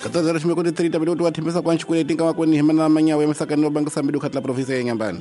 14:30 minuto wa thembisa kwa xikweleti nga makweni hi mana manyawo ya misakani no bangisa mbilu khatla province ya Nyambani.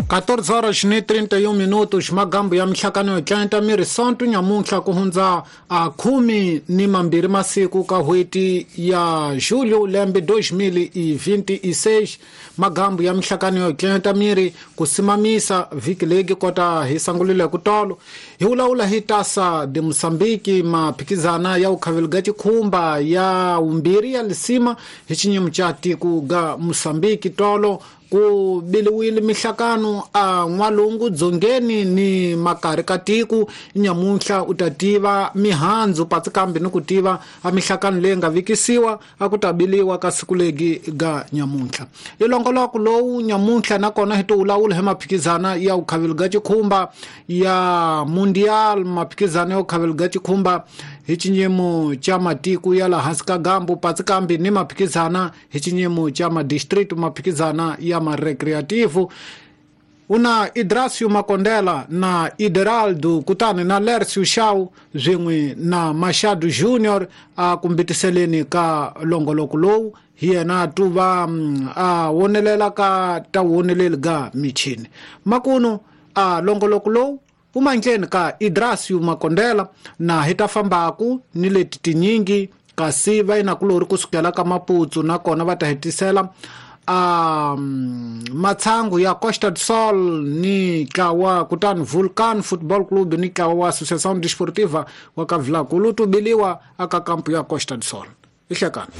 Quatorze horas ni 31 minutos magambo ya mihlakano yo tlanta miri sonto nyamuntlha ku hundza a 12 masiku ka hweti ya julho lembe 2026 magambo ya mihlakano yo tlanta miri ku simamisa vhiki legi kota hi sangulile ku tolo hi wulawula hi tasa de Moçambique maphikizana ya ukhaveliga chikhumba ya umbiri ya lisima hi xinyimo cha tiko ga Moçambique tolo ku biliwile mihlakano a n'walungu dzongeni ni makari ka tiko nyamuntlha u ta tiva mihandzu patsi kambe ni ku tiva a mihlakano leyi nga vikisiwa a ku ta biliwa ka siku legi ga nyamuntlha ilongoloko lowu nyamuntlha nakona hi to wulawula hi maphikizana ya ukhaveliga chikhumba ya mundial maphikizana ya ukhaveliga chikhumba hi xinyimo cha matiko ya la hansi ka gambu patsi kambe ni maphikizana hi xinyimo cha madistrict maphikizana ya marecreativo una Idracio Makondela na Ideraldo kutani na Lercio Shaw swin'we na Machado Junior a kumbitiseleni ka longoloko lowu hi yena tuva a wonelela ka ta woneleli ga michini makuno a longoloko lowu umandleni ka Idracio Makondela na hi ta fambaku ni leti tinyingi kasi va yina kulori kusukela ka Maputo nakona va ta hetisela a matsangu ya Costa do Sol ni ntlawa kutani Vulcan Football Club ni ntlawa wa Associação Desportiva wa ka Vilankulu tubiliwa aka kampu ya Costa do Sol ihlekani.